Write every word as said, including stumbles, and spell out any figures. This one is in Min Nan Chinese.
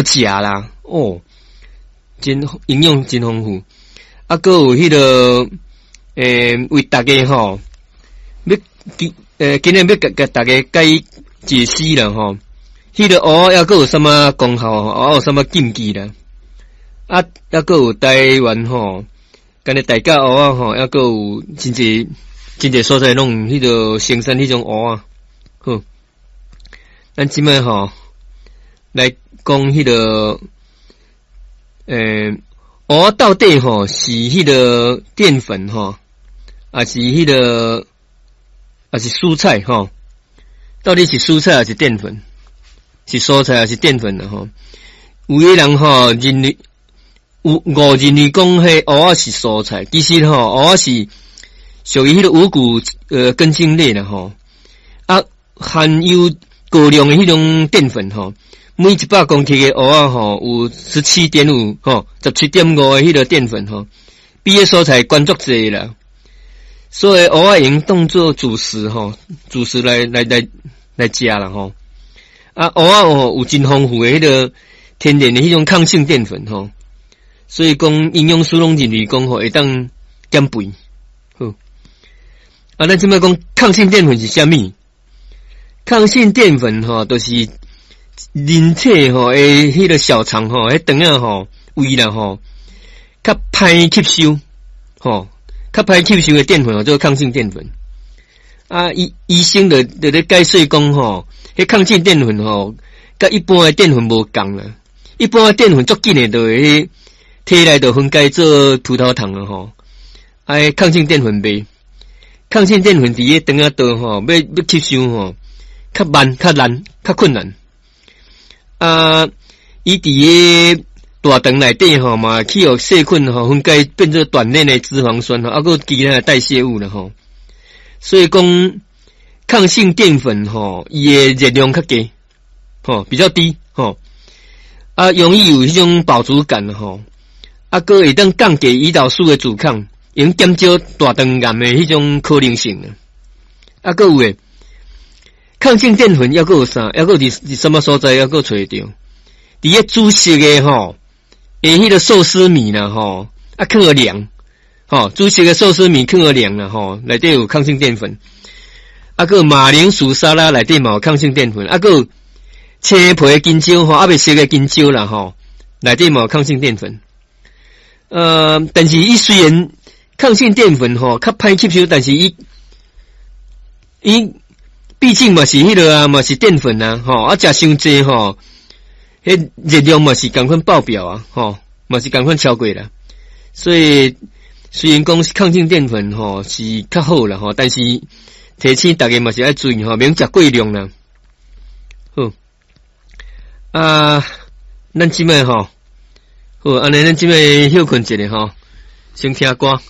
食啦，哦，真營養真豐富。啊，閣有彼個，欸，為大家吼，欲今欸，今日欲共共大家解解釋啦吼。彼個芋仔猶閣有啥物功效？芋仔有啥物禁忌啦？啊，猶閣有台灣吼，干焦大甲芋仔吼，猶閣有真濟真濟所在攏有彼個生產彼種芋仔。好，咱這擺吼來講彼個，欸，芋仔到底吼是彼個澱粉吼，抑是彼個，抑是蔬菜吼？到底是蔬菜抑是澱粉？是蔬菜抑是澱粉啦吼？有的人吼認為有誤認為講彼芋仔是蔬菜，其實吼芋仔是屬於彼個五穀呃根莖類啦吼。啊，含有高量的彼種澱粉吼，每一百公克的芋仔吼有十七點五吼，十七點五的彼個澱粉吼，比彼蔬菜懸足濟啦。所以芋仔會用當做主食吼，主食來來來來食啦吼。啊，芋仔哦有真豐富的彼個天然的彼種抗性澱粉吼，所以講營養師攏認為講吼會當減肥。好，啊，咱這擺講抗性澱粉是啥物？抗性澱粉吼，就是人體吼的彼個小腸吼，彼腸仔吼胃啦吼，較歹吸收吼，較歹吸收的澱粉吼，做抗性澱粉。啊，醫醫生就就咧解說講吼，彼抗性澱粉吼，佮一般的澱粉無仝啦。一般的澱粉足緊的，就會體內就分解做葡萄糖了吼。啊，抗性澱粉袂，抗性澱粉佇咧腸仔道吼，欲欲吸收吼，較慢、較難、較困難。啊，伊佇咧大腸內底吼嘛，去予細菌吼分解變做短鏈的脂肪酸吼，啊，閣有其他的代謝物啦吼。所以講抗性澱粉吼，伊的熱量較低，吼比較低吼，啊，容易有彼種飽足感吼，啊，閣會當降低胰島素的阻抗，會減少大腸癌的彼種可能性啊，閣有的抗性澱粉猶閣有啥？猶閣佇佇啥物所在？猶閣揣會著？佇咧煮熟的吼，的彼個壽司米啦吼，啊，囥予涼。吼，煮熟的壽司米囥予涼啦吼，內底有抗性澱粉。啊，閣馬鈴薯沙拉內底嘛有抗性澱粉。啊，閣青皮的香蕉吼，猶未熟的香蕉啦吼，內底嘛有抗性澱粉。呃，但是伊雖然抗性澱粉吼較歹吸收，但是伊伊畢竟嘛是彼個啊，嘛是澱粉啊，吼啊，食傷濟吼，彼熱量嘛是仝款爆表啊，吼嘛是仝款超過啦，所以。雖然講抗性澱粉吼是較好啦吼，但是提醒大家嘛是愛注意吼，免食過量啦。好，啊，咱這擺吼，好，按呢咱這擺歇睏一下吼，先聽歌。